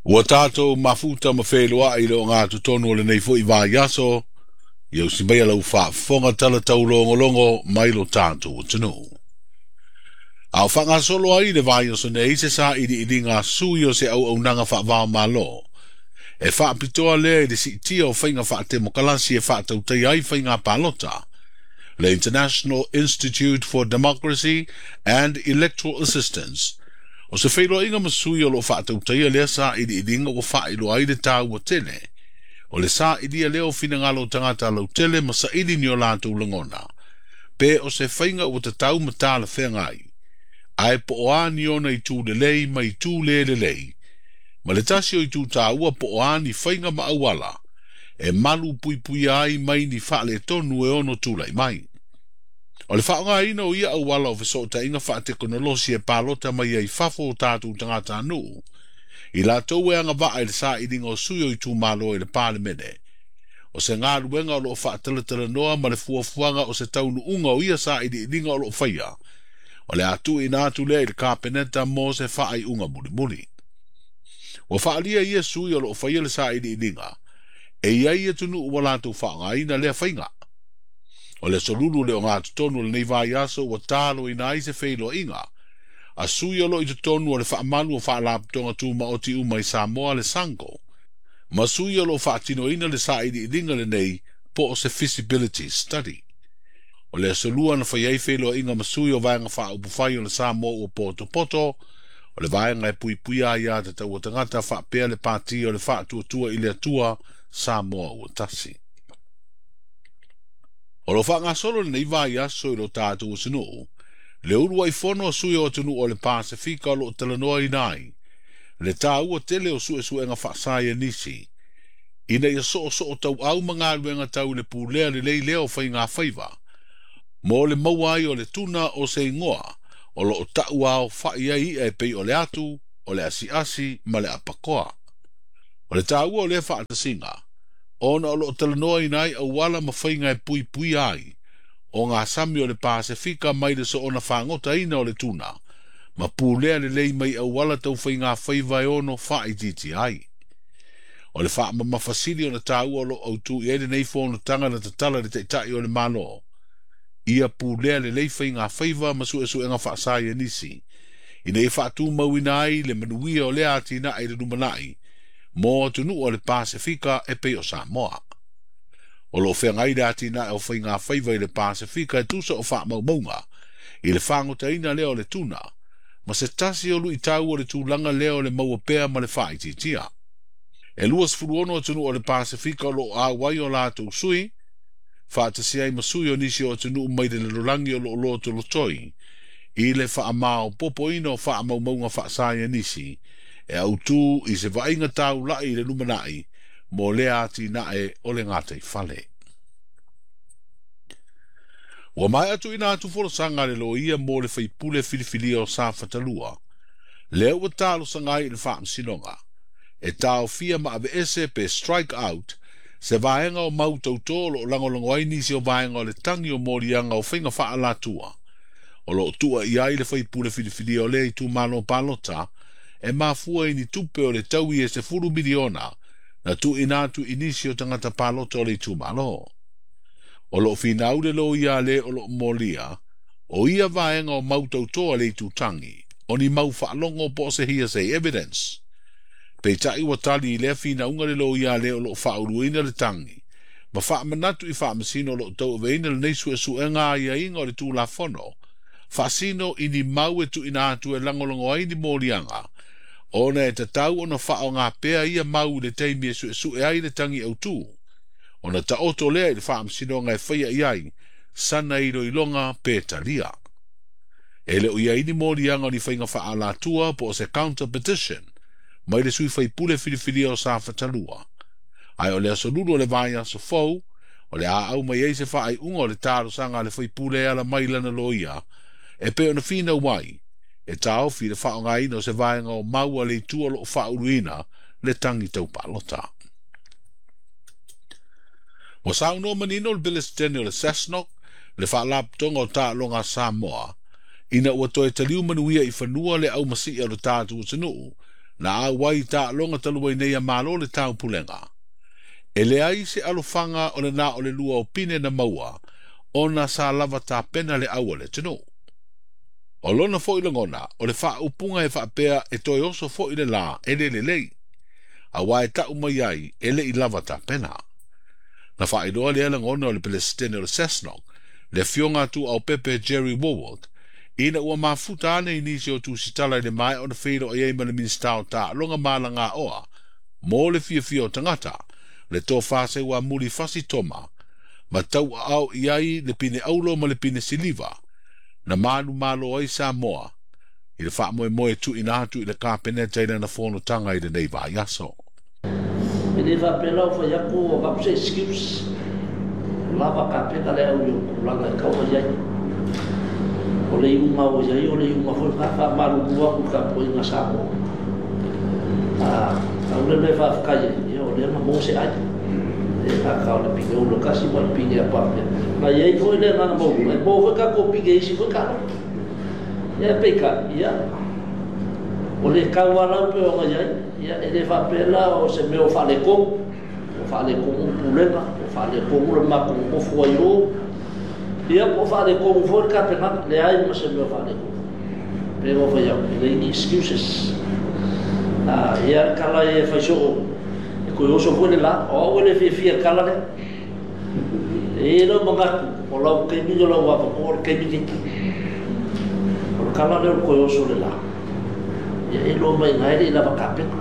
Ua tatou mafuta ma feiloai i le ogatotonu o lenei foi vaiaso, ia usi maia lau faafofoga tala taulogologo mai lo tatou atunuu. A o faagasolo ai le vaiaso nei se sailiiliga a sui o se auaunaga faava-o-Malo, e faapitoa lea i le siitia o faiga faatemokalasi e faatautaia ai faiga palota, le International Institute for Democracy and Electoral Assistance. O se feiloaiga ma sui o lo o faatautaia lea sailiiliga ua faailoa ai le taua tele o le sailia lea o finagalo o tagata lautele ma saili ni o latou lagona, pe o se faiga ua tatau ma talafeagai, ae po o a ni ona itu lelei ma itu le lelei, ma le tasi o itu taua po o a ni faiga ma auala e malu puipuia ai mai ni faaletonu e ono tulai mai. O le faaaogaina o ia auala o fesootaiga faatekonolosi e palota mai ai fafo o tatou tagatanuu, i latou e agavaa i le sailiga o sui o itumalo i le Palemene, o se galuega o lo o faatalatalanoa ma le fuafuaga o se taunuuga o ia sailiiliga o lo o faia, o le a tuuina atu lea i le Kapeneta mo se faaiuga mulimuli. Ua faaalia ia sui o lo o faia le sailiiliga, e i ai atunuu ua latou faaaogaina lea faiga. O le aso Lulu le ogatotonu o lenei vaiaso ua taloina ai se feiloaiga a sui o lo o i totonu o le faamalu o faalapotopotoga tumaoti uma i Samoa le SANGO, ma sui o lo o faatinoina le sailiiliga lenei po o se feasibility study. O le aso Lua na fai ai feiloaiga ma sui o Vaega Faaupufai o le Samoa ua potopoto, o le vaega e puipuia aia tatau a tagata faapea le Pati o le Faatuatua i le Atua Samoa ua tasi. O lo o faagasolo lenei vaiaso i lo tatou atunuu, le uluai fono a sui o atunuu o le Pasefika o lo o talanoaina ai le taua tele o suesuega faasaienisi, ina ia soosoo tauau ma galuega tau i le pulea lelei lea o faiga faiva, mo le maua ai o le tuna o se igoa o lo o tauaofa'i ai i'a e pei o le atu, o le asiasi ma le apakoa. O le taua o lea faatasiga, ona o lo o talanoaina ai auala ma faiga e puipuia ai o gasami o le Pasefika mai le soona fagotaina o le tuna, ma pulea lelei mai auala tau faiga faiva e ono faaitiitia ai. O le faamamafa sili ona taua o lo o autu i ai lenei fonotaga na tatala i le Taitai o le Malo, ia pulea lelei faiga faiva ma suesuega faasaienisi, ina ia faatumauina ai le manuia o lea atinae i le lumanai mo atunuu o le Pasefika e pei o Samoa. O lo o feagai le atinae o faiga faiva i le Pasefika e tusa o faamaumauga i le fagotaina lea o le tuna, ma se tasi o luitau o le tulaga lea o le maua pea ma le faaitiitia. E 26 atunuu o le Pasefika o lo o auai o latou sui, faatasi ai ma sui o nisi o atunuu mai le lalolagi o lo o lotolotoi i le faamaopoopoina o faamaumauga faasaienisi e autu i se vaaiga taulai i le lumanai mo lea atinae o le gataifale. Ua maea tuuina atu folasaga a le loia mo le faipule filifilia o Safatalua, lea ua talosaga ai i le faamasinoga e taofia ma aveese pe strike out se vaega o mau tautō o lo o lagolago ai nisi o vaega o le tagi o moliaga o faiga faaalatua o lo o tua i ai le faipule filifilia o lea itumalo palota e mafua i ni tupe o le taui e $10 miliona na tuuina atu i nisi o tagata palota o le itumalo. O lo o finau le loia a le o lo o molia, o ia vaega o mau tautō a le itutagi, o ni mau faalogo po o se hearsay evidence. Peitai ua tali i lea finauga le loia a le o lo o faauluina le tagi, ma faamanatu i faamasino o lo o tauaveina lenei suesuega aiaiga o le Tulafono, faasino i ni mau e tuuina atu e lagolago ai ni moliaga, ona e tatau ona faaaoga pea ia mau i le taimi e suesue ai le tagi autū, ona taoto lea i le faamasinoga e faia i ai sana iloiloga pe talia. E le o i ai ni moliaga o ni faiga faaalatua po o se counter petition mai le sui faipule filifilia o Safatalua, ae o le aso Lulu o le vaiaso fou o le a au mai ai se faaiuga o le talosaga a le faipule e ala mai lana loia e pei ona finau ai e taofi le faaaogaina o se vaega o mau a le itu o lo o faauluina le tagi taupalota. Ua saunoa manino le Peresetene o le SASNOC, le Faalapotopotoga o Taaloga a Samoa, ina ua toe taliu manuia i fanua le aumasii o le tatou atunuu, Na auai i taaloga talu ai nei a Malo le Taupulega. E leai se alofaga o le na o le lua o pine na maua ona sa lava tapena le au a le atunuu. O lona foi lagona, o le faaupuga e faapea e toe oso foi le la e le lelei, auā e ta'u mai ai e le i lava tapena. Na faailoa lea lagona o le Pelesitene o le SASNOC, le afioga a Tuuaupepe Jerry Wallwork, ina ua mafuta ane i nisi o tusitala i le maea ona feiloai ai ma le Minisita o Taaloga ma Alagaoa mo le Fiafia o Tagata, le Tofa Seuamuli Fasi Toma, ma tauaao i ai le pine auro ma le pine siliva na manumalo ai Samoa i le faamoemoe e tuuina atu i le Kapeneta i lana fonotaga i lenei vaiaso. E le faapea la o fai atu o avatu se excuse, o lava kapena le au i ou tulaga e tau mai ai. O le iuga ua i ai, o le iuga foi lena, faamalulu atu i le tapuaiga a Samoa. A tau le mea e faafetai ai, ia o lea na maua se ai. E le gata o le pine ula tasi ma le pine a papea. Na i ai foi le agaga maualuga, e maua foi tatou pine i isi foi taaloga. Ia peitai, ia, o le tau lava lau pei ona i ai, ia, e le faapea la o se mea o faaletonu, o faaletonu le pulega, o faaletonu le matou nonofo ai o, ia, po o faaletonu foi le tapenaga, leai ma se mea o faaletonu. Pei ona fai atu, e leai ni excuses. A, ia le tala ia e fai soo, e toe oso foi le la, o au e le fiafia i le tala lea. E i ai lou manatu, o lau taimi o lau avanoa o le taimi lenei. O le tala lea o le toe oso o le la, ia e iloa mai i ina e le i lava tapena.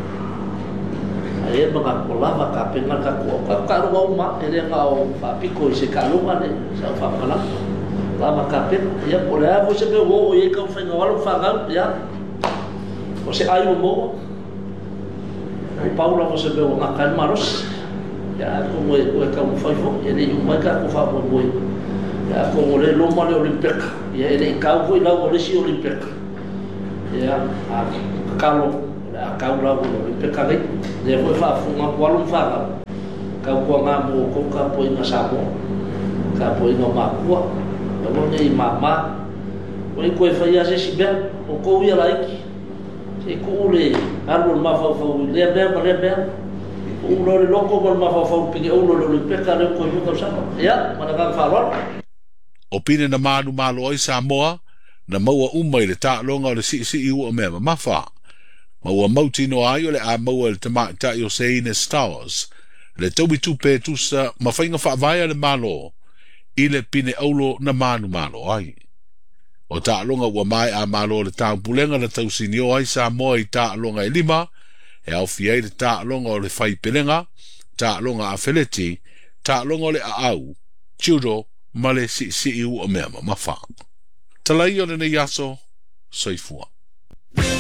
Ae i ai le manatu, ua lava tapena le tatou au. Tatou taaloga uma lava, e le na o faapito i se taaloga le sau faamatalaga. Lava tapena. Ia po o le a foi se mea ua oo i ai taumafaiga o alo ma fanau, ia o se ai ua maua. Ua pau lava o se mea ua gata ai le malosi. Ia atonu e toe taumafai foi, e le i uma ai tatou faamoemoe. Ia atonu o lea e loma le Olympeka, ia e le i tau foi lau o le isi Olympeka. Ia a tatalo o le a tau lau o le Olympeka nei. O lea foi e faafofoga atu alo ma fanau, tautuana mo outou tapuaiga Samoa, tapuaiga o matua, aua ne i mama. Ua le toe faia se isi mea, outou ia laiti. Se i tuu le alu o le mafaufau i lea mea ma lea mea. Tuu loa le loto ma le mafaufau i le pine ulu o le Olympeka lea ua toe lua tausaga. Ia, ma le agaga faaaloalo. O pine na manumalo ai Samoa, na maua uma i le taaloga o le siisii ua mea mamafa, ma ua mautinoa ai o le a maua e le tamaitai o Seine Stowers le taui tupe e tusa ma faiga faavae a le Malo i le pine auro na manumalo ai. O taaloga ua maea malo le taupulega na tausinio ai Samoa i taaloga e lima, e aofia ai le taaloga o le faipelega, taaloga afeleti, taaloga o le aau, judo, ma le siisii ua mea mamafa. Talai o lenei aso, soifua.